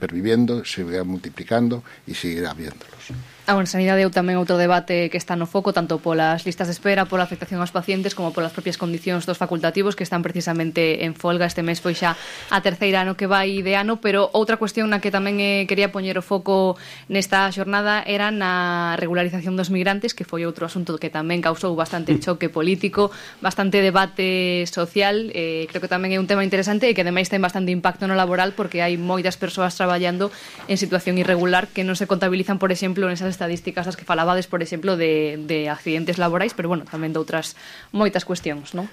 perviviendo, seguirá multiplicando e seguirá viéndolos. En sanidade é tamén outro debate que está no foco, tanto polas listas de espera, pola afectación aos pacientes, como polas propias condicións dos facultativos que están precisamente en folga. Este mes foi xa a terceira ano que vai de ano, pero outra cuestión na que tamén quería poñer o foco nesta xornada era na regularización dos migrantes, que foi outro asunto que tamén causou bastante choque político, bastante debate social. Creo que tamén é un tema interesante e que ademais ten bastante impacto no laboral, porque hai moitas persoas traballando en situación irregular que non se contabilizan, por exemplo, nesas estadísticas das que falabades, por exemplo, de accidentes laborais, pero, bueno, tamén de outras moitas cuestións, non?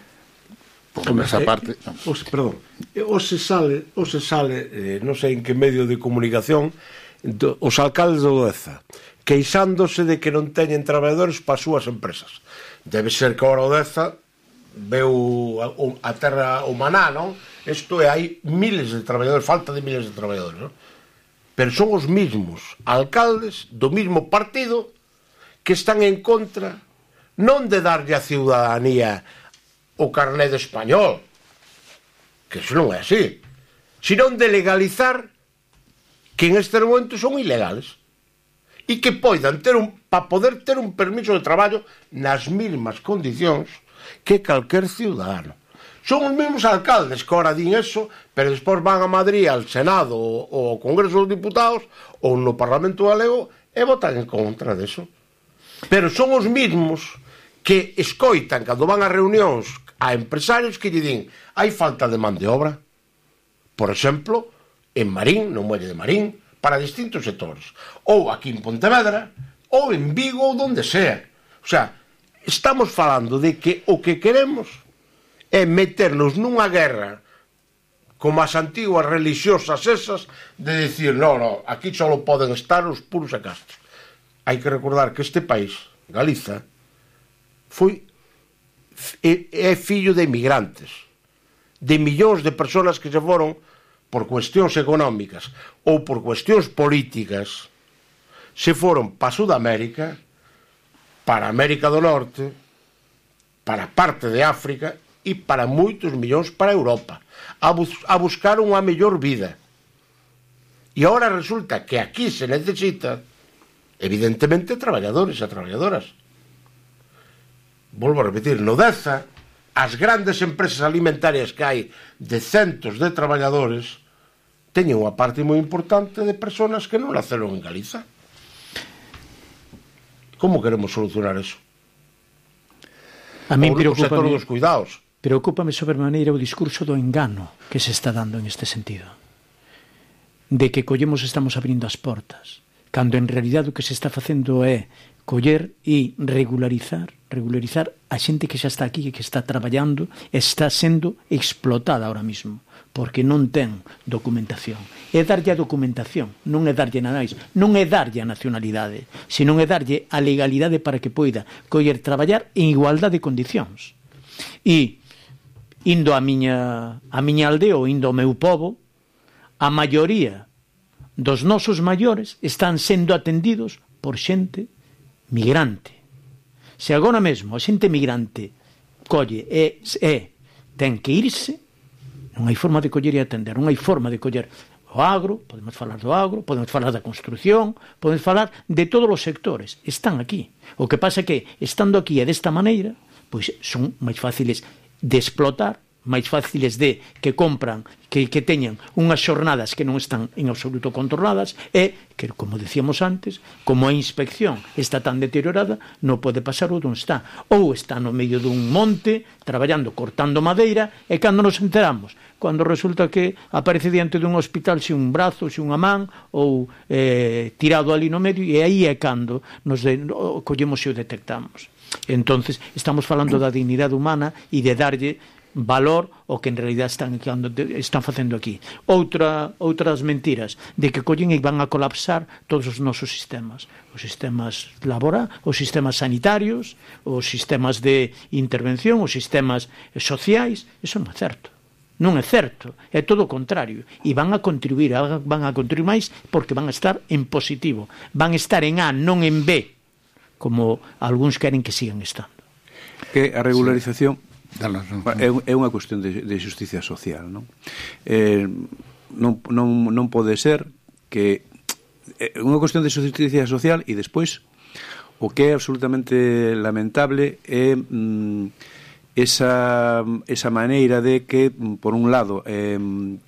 Esa parte... Perdón, o se sale, non sei en que medio de comunicación, os alcaldes de Odeza queixándose de que non teñen traballadores para as súas empresas. Debe ser que ahora Odeza veu a terra humana, non? Isto é, hai miles de traballadores, falta de miles de traballadores, non? Pero son os mismos alcaldes do mismo partido que están en contra non de darlle a ciudadanía o carné de español, que iso non é así, sino de legalizar que en este momento son ilegales e que poidan ter para poder ter un permiso de traballo nas mesmas condicións que calquer ciudadano. Son os mesmos alcaldes que ahora din eso, pero despois van a Madrid, al Senado ou ao Congreso dos Diputados ou no Parlamento Galego e votan en contra deso. Pero son os mesmos que escoitan cando van a reunións a empresarios que lle din hai falta de man de obra, por exemplo, en Marín, no muelle de Marín, para distintos sectores, ou aquí en Pontevedra, ou en Vigo, ou donde sea. O sea, estamos falando de que o que queremos é meternos nunha guerra como as antiguas religiosas esas de decir, no, aquí só poden estar os puros e castos. Hai que recordar que este país, Galiza, é fillo de emigrantes, de millóns de persoas que se foron por cuestións económicas ou por cuestións políticas, se foron para Sudamérica, para América do Norte, para parte de África e para moitos millóns para Europa, a buscar unha mellor vida. E agora resulta que aquí se necesita, evidentemente, traballadores e traballadoras. Volvo a repetir, no Deza, as grandes empresas alimentarias que hai de centos de traballadores teñen unha parte moi importante de persoas que non naceron en Galiza. Como queremos solucionar eso? A mí preocúpame dos cuidados. Preocúpame sobremaneira o discurso do engano que se está dando en este sentido. De que estamos abrindo as portas, cando en realidade o que se está facendo é coller e regularizar a xente que xa está aquí, que está traballando, está sendo explotada ahora mismo, porque non ten documentación. É darlle a documentación, non é darlle nada máis, non é darlle a nacionalidade, senón é darlle a legalidade para que poida coller traballar en igualdade de condicións. E indo a miña aldea ou indo ao meu pobo, a maioría dos nosos maiores están sendo atendidos por xente migrante. Se agora mesmo a xente migrante colle e ten que irse, non hai forma de coller e atender, non hai forma de coller o agro, podemos falar do agro, podemos falar da construción, podemos falar de todos os sectores, están aquí. O que pasa é que, estando aquí e desta maneira, pois son máis fáciles de explotar, máis fáciles de que compran, que teñan unhas xornadas que non están en absoluto controladas e que, como decíamos antes, como a inspección está tan deteriorada, non pode pasar onde está. Ou está no medio dun monte, traballando, cortando madeira, e cando nos enteramos, cando resulta que aparece diante dun hospital se un brazo, se unha man, ou tirado ali no medio, e aí é cando nos collemos e o detectamos. Entonces, estamos falando da dignidade humana e de darlle valor o que en realidad están facendo aquí. Outras mentiras de que collen e van a colapsar todos os nosos sistemas, os sistemas laborais, os sistemas sanitarios, os sistemas de intervención, os sistemas sociais. Eso non é certo. Non é certo, é todo o contrario, e van a contribuir máis porque van a estar en positivo, van a estar en A, non en B, como algúns queren que sigan estando. Que a regularización é unha cuestión de justicia social, non? Non pode ser que é unha cuestión de justicia social, e despois o que é absolutamente lamentable é esa maneira de que, por un lado,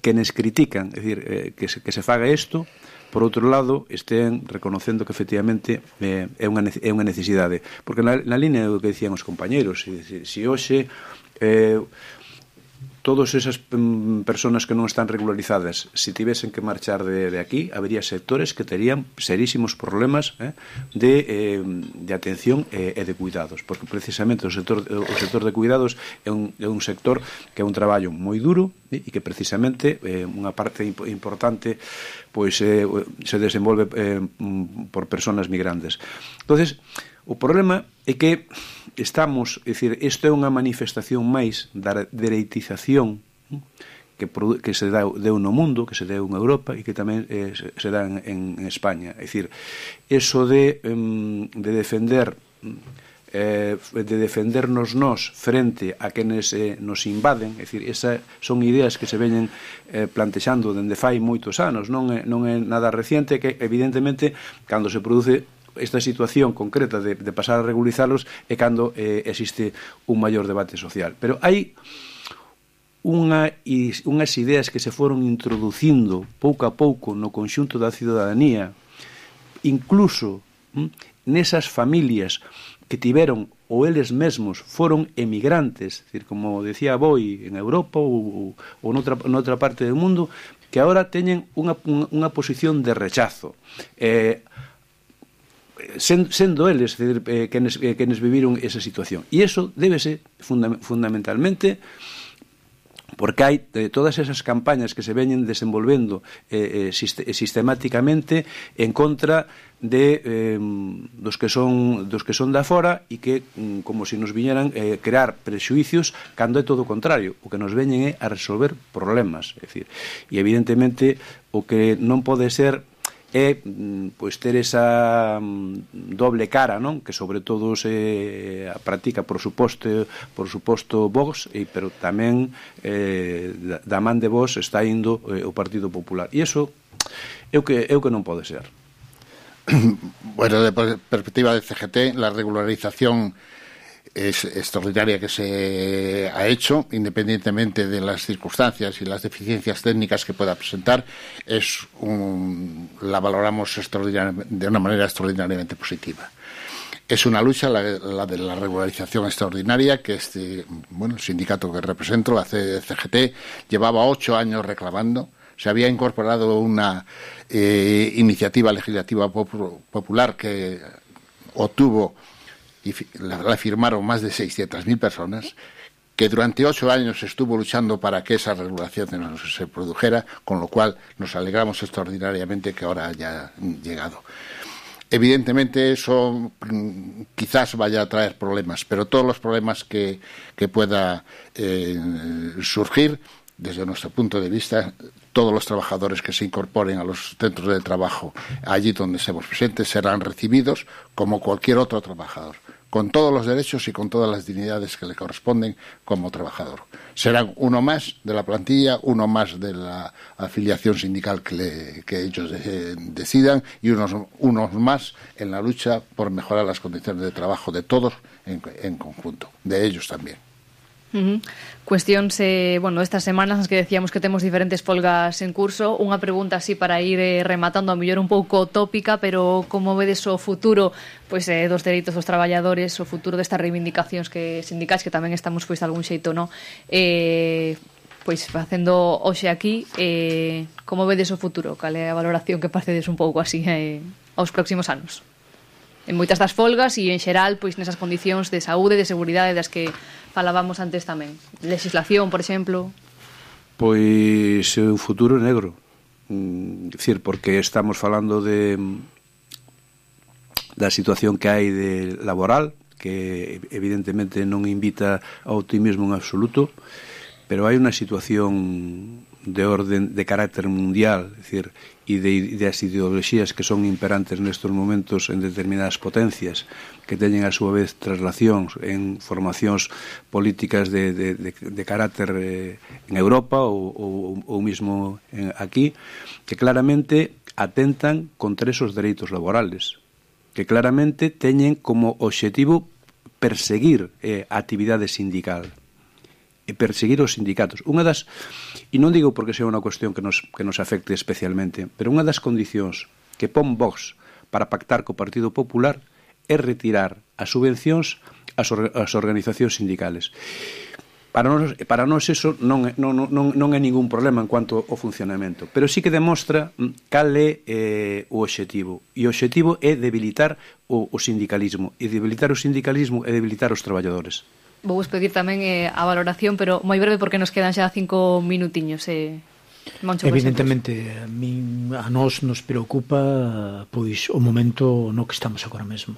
quenes critican, é dicir, que se faga isto, por outro lado, estén reconocendo que efectivamente é unha necesidade. Porque na línea do que dicían os compañeros, se hoxe todas esas personas que non están regularizadas, se tivesen que marchar de aquí, habería sectores que terían serísimos problemas de atención e de cuidados, porque precisamente o sector de cuidados é un sector que é un traballo moi duro e que precisamente unha parte importante pois se desenvolve por personas migrantes. Entonces, o problema é que estamos, é dicir, isto é unha manifestación máis da dereitización que se deu no mundo, que se deu en Europa e que tamén se dá en España. É dicir, eso de defendernos nós frente a quenes nos invaden, é dicir, esas son ideas que se veñen plantexando dende fai moitos anos, non é nada reciente, que evidentemente cando se produce esta situación concreta de pasar a regularizarlos é cando existe un maior debate social. Pero hai unhas ideas que se foron introducindo pouco a pouco no conxunto da ciudadanía, incluso nesas familias que tiveron ou eles mesmos foron emigrantes, decir, como decía Boi, en Europa ou noutra parte do mundo, que agora teñen unha posición de rechazo. Sendo eles quenes viviron esa situación. E iso débese fundamentalmente porque hai todas esas campañas que se veñen desenvolvendo sistemáticamente en contra dos que son da fora e que como se nos viñeran crear prexuicios cando é todo o contrario. O que nos veñen é a resolver problemas. É dicir, e evidentemente o que non pode ser é pois ter esa doble cara, non? Que sobre todo se practica por suposto Vox, pero tamén da man de Vox está indo o Partido Popular. E iso é o que non pode ser. Bueno, de perspectiva de CGT, la regularización es extraordinaria que se ha hecho, independientemente de las circunstancias y las deficiencias técnicas que pueda presentar, la valoramos de una manera extraordinariamente positiva. Es una lucha, la de la regularización extraordinaria, que el sindicato que represento, la CGT, llevaba 8 años reclamando. Se había incorporado una iniciativa legislativa popular que obtuvo y la firmaron más de 600.000 personas, que durante 8 años estuvo luchando para que esa regulación no se produjera, con lo cual nos alegramos extraordinariamente que ahora haya llegado. Evidentemente eso quizás vaya a traer problemas, pero todos los problemas que pueda surgir, desde nuestro punto de vista, todos los trabajadores que se incorporen a los centros de trabajo allí donde estemos presentes serán recibidos como cualquier otro trabajador, con todos los derechos y con todas las dignidades que le corresponden como trabajador. Serán uno más de la plantilla, uno más de la afiliación sindical que ellos decidan y unos más en la lucha por mejorar las condiciones de trabajo de todos en conjunto, de ellos también. Cuestións, estas semanas nas que decíamos que temos diferentes folgas en curso. Unha pregunta así para ir rematando, a mellor un pouco tópica, pero como vedes o futuro dos dereitos dos traballadores, o futuro destas reivindicacións sindicais que tamén estamos de algún xeito facendo hoxe aquí, como vedes o futuro? Cal é a valoración que paredes un pouco así aos próximos anos? En moitas das folgas e en xeral nesas condicións de saúde, de seguridade das que falábamos antes tamén. Legislación, por exemplo. Pois o futuro é negro. Dicir, porque estamos falando da situación que hai de laboral, que evidentemente non invita ao optimismo en absoluto, pero hai unha situación de orden de carácter mundial, é dicir, e das ideoloxías que son imperantes nestes momentos en determinadas potencias que teñen a súa vez traslacións en formacións políticas de carácter en Europa ou mismo aquí, que claramente atentan contra esos dereitos laborales, que claramente teñen como obxectivo perseguir a actividade sindical e perseguir os sindicatos. Unha das, e non digo porque sea unha cuestión que nos afecte especialmente, pero unha das condicións que pon Vox para pactar co Partido Popular é retirar as subvencións ás organizacións sindicales. Para nós eso non é ningún problema en cuanto ao funcionamento, pero sí que demostra cal é o obxectivo, e o obxectivo é debilitar o sindicalismo, e debilitar o sindicalismo é debilitar os traballadores. Vou pedir tamén a valoración, pero moi breve porque nos quedan xa 5 minutiños. Moncho, evidentemente a nós nos preocupa pois o momento no que estamos agora mesmo.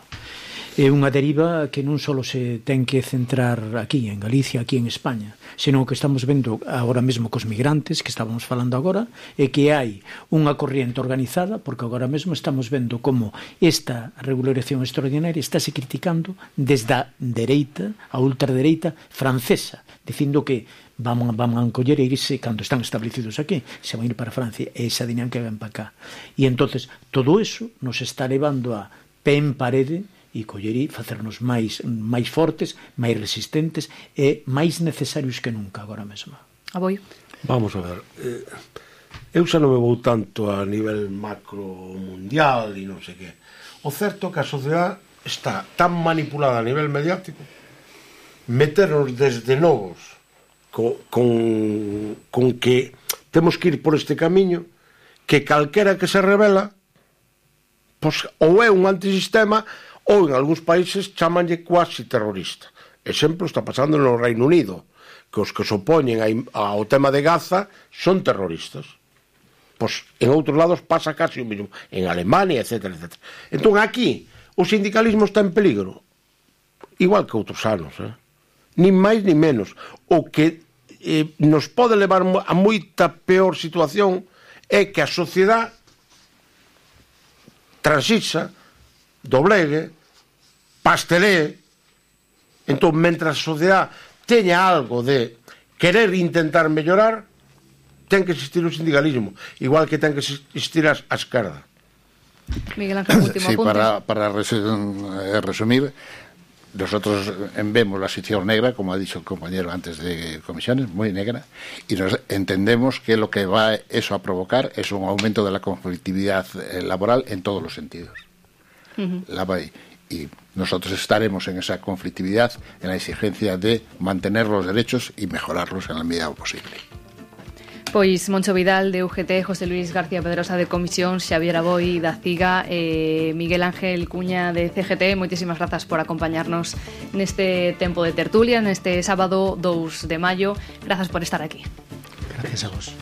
É unha deriva que non só se ten que centrar aquí en Galicia, aquí en España, senón que estamos vendo agora mesmo cos migrantes, que estábamos falando agora, e que hai unha corriente organizada, porque agora mesmo estamos vendo como esta regularización extraordinaria estáse criticando desde a dereita, a ultradereita francesa, dicindo que van a encoller e irse cando están establecidos aquí, se van a ir para Francia, e esa dinámica ven para cá. E entonces todo eso nos está levando a pé en parede e coller e facernos máis fortes, máis resistentes e máis necesarios que nunca agora mesmo. Aboi. Vamos a ver, eu xa non me vou tanto a nivel macro mundial e non sei que. O certo é que a sociedade está tan manipulada a nivel mediático, meternos desde novos con que temos que ir por este camiño, que calquera que se revela pois, ou é un antisistema ou en algúns países chamanlle cuasi terrorista. Exemplo está pasando no Reino Unido, que os que se opoñen ao tema de Gaza son terroristas. Pois en outros lados pasa casi o mesmo, en Alemania, etc. Entón aquí o sindicalismo está en peligro, igual que outros anos, nin máis nin menos. O que nos pode levar a moita peor situación é que a sociedade transixa, doblegue, pastelee. Entón, mentras a sociedade teña algo de querer intentar mellorar, ten que existir o sindicalismo, igual que ten que existir a esquerda. Miguel Ángel, último sí, apunte. para resumir, nosotros vemos la situación negra, como ha dicho el compañero antes de comisiones, muy negra, y nos entendemos que lo que va eso a provocar es un aumento de la conflictividad laboral en todos los sentidos. Y nosotros estaremos en esa conflictividad, en la exigencia de mantener los derechos y mejorarlos en la medida posible. Pois Moncho Vidal de UGT, José Luis García Pedrosa de Comisión, Xavier Aboi da CIGA, Miguel Ángel Cuña de CGT, moitísimas grazas por acompañarnos neste tempo de tertulia, neste sábado 2 de maio. Grazas por estar aquí. Gracias a vos.